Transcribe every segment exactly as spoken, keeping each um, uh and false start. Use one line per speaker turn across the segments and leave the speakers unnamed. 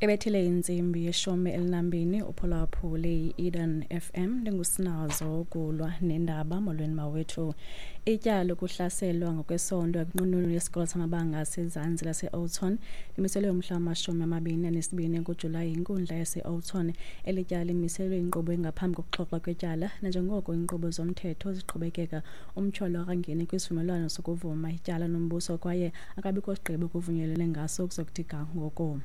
Ebethile intsimbi yeshumi elinambini uphulaphule i-Eden F M ndingusinazo ukulwa nendaba. Molweni mawethu. Ityala lokuhlaselwa ngokwesondo ekunqununu yesikolo samabanga asezantsi lase-Oudtshoorn limiselwe umhla wamashumi amabini anesibini kuJulayi yinkundla yase-Oudtshoorn. Eli tyala limiselwe inkqubo engaphambi kokuxoxwa kwetyala nanjengoko iinkqubo zomthetho ziqhubekeka. Umtyholwa akangeni kwisivumelwano sokuvuma ityala nombuso kwaye akabikho sigqibo kuvunyelwene ngaso ukuzokuthi ga ngoku.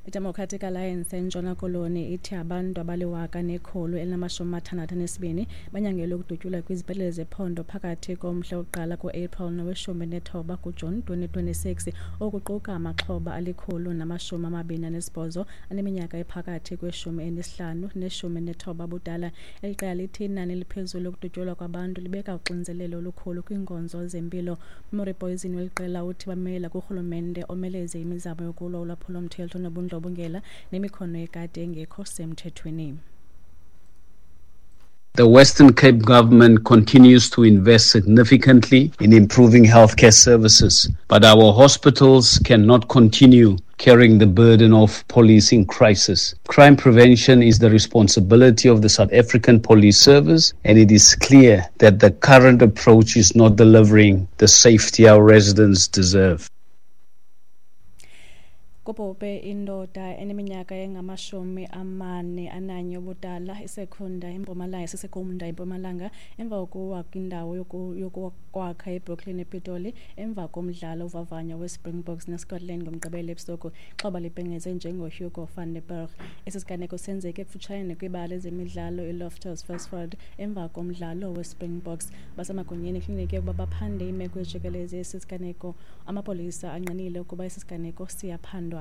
I-Democratic Alliance eNtshona Koloni ithi abantu abaliwaka nekhulu elinamashumi amathandathu anesibini banyangelwe ukudutyulwa kwizibhedlele zephondo phakathi komhla wokuqala ku-April noweshumi nethoba kuJuni twenty twenty-six, okuquka amaxhoba alikhulu namashumi amabini anesibhozo aneminyaka ephakathi kweshumi enesihlanu neshumi nethoba budala. Eli qela lithi inani eliphezulu lokudutyulwa kwabantu libeka uxinzelelo olukhulu kwiinkonzo zempilo. Murray Poison weli qela uthi bamela kurhulumente omeleze imizamo yokulwa ulwaphulomthetho nobundlobongela nemikhono yekati engekho semthethweni.
The Western Cape government continues to invest significantly in improving healthcare services, but our hospitals cannot continue carrying the burden of policing crisis. Crime prevention is the responsibility of the South African Police Service, and it is clear that the current approach is not delivering the safety our residents deserve.
Kubhubhe indoda eneminyaka engamashumi amane ananye ubudala isekhunda eMpumalanga sisekhunda eMpumalanga emva kokuwa kwindawo yokwakha eBrooklyn ePitoli emva komdlalo uvavanyo weSpringboks neScotland ngoMgqibelo ebusuku. Ixhoba libhengezwe njengoHugo van der Berg. Esi siganeko senzeke kufutshane kwibala lezemidlalo iLoftus Versfeld emva komdlalo weSpringboks. Basemagunyeni ekliniki ukuba baphande imeko ejikeleze esi siganeko. Amapolisa angqinile ukuba esi siganeko siyaphandwa.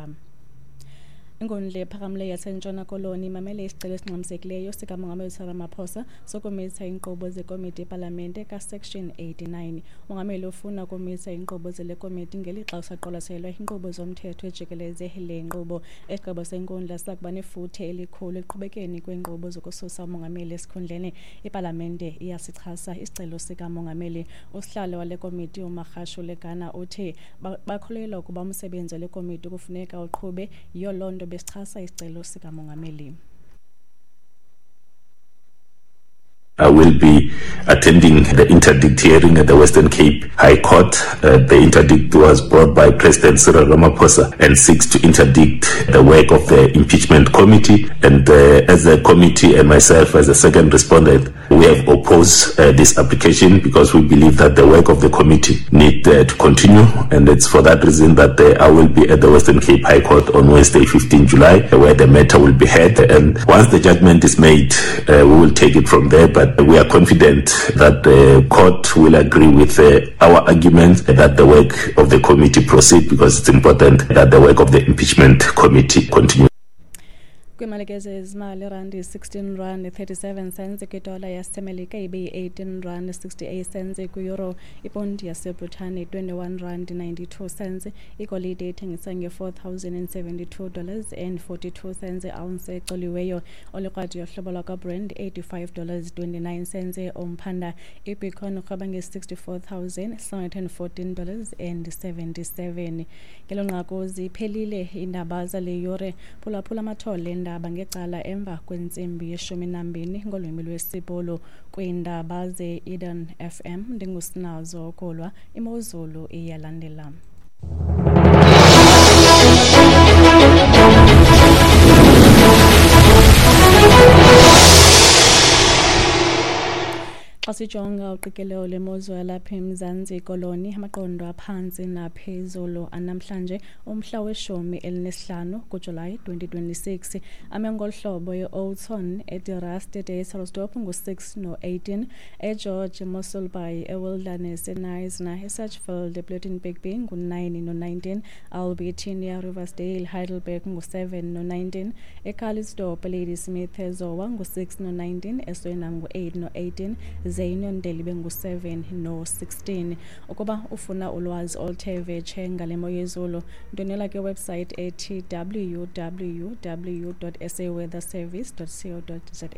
Inkundla ephakamileyo yaseNtshona Koloni imamele isicelo esingxamisekileyo sikaMongameli Cyril Ramaphosa sokumisa iinkqubo zekomiti yepalamente kaSection eighty-nine. Umongameli ufuna ukumisa iinkqubo zale komiti ngelixa kusaqwalaselwa iinkqubo zomthetho ejikeleze le nkqubo. Isigqibo senkundla siza kuba nefuthe elikhulu ekuqhubekeni kweenkqubo zokususa umongameli esikhundleni. Ipalamente iyasichasa isicelo sikamongameli. Usihlalo wale komiti uMagashule Gana uthi bakholelwa ukuba umsebenzi wale komiti kufuneka uqhube, yiyo loo nto besichasa isicelo sikamongameli.
I will be attending the interdict hearing at the Western Cape High Court. Uh, the interdict was brought by President Cyril Ramaphosa and seeks to interdict the work of the impeachment committee. And uh, as a committee and myself as a second respondent, we have opposed uh, this application because we believe that the work of the committee need uh, to continue. And it's for that reason that uh, I will be at the Western Cape High Court on Wednesday, fifteenth July, where the matter will be heard. And once the judgment is made, uh, we will take it from there. But we are confident that the court will agree with uh, our argument that the work of the committee proceed, because it's important that the work of the impeachment committee continue.
Kwimalike zezimali, irandi sixteen rand thirty-seven cents kwidola yaseMelika ibe yi-eighteen rand sixty-eight cents kwi-euro, iponti yaseBritane twenty-one rand ninety-two cents, igolide ithengisa nge-four thousand and seventy-two dollars and forty-two cents ounce ecoliweyo, olikrwadi yohlobo lwakwaBrand eighty-five dollars twenty-nine cents umphanda, ibitcoin irhweba nge-sixty-four thousand seven hundred and fourteen dollars and seventy-seven. Ngelo nqaku ziphelile iindaba zale yure. Phulaphula amathole endaba ngecala emva kwentsimbi yeshumi nambini ngolwimi lwesiBhulu. Kwiindaba ze-Eden F M ndingusinazo Kolwa. Imozulu iyalandela. Xa sijonga uqikelelo lwemozulu yalapha eMzantsi Koloni, amaqondo aphantsi naphezulu anamhlanje umhla weshumi elinesihlanu kuJulayi twenty twenty-six ame ngolu hlobo: e-Oudtshoorn, eDe-Rust, eDysselsdorp ngu-six no-eighteen, eGeorge, eMossel Bay, eWilderness, eKnysna, eSedgefield, ePlettenberg Bay ngu-nine no-nineteen, Albertinia, Riversdale, Heidelberg ngu-seven no-nineteen, eCalitzdorp, Ladysmith, eZowa ngu-six no-nineteen, eSwena ngu-eight no-eighteen, Zeinondeli bengu-seven no-sixteen. Ukuba ufuna ulwazi oluthe vetshe ngale mo yezulu, ndwendwela kwiwebsite ethi w w w dot s a weather service dot co dot za.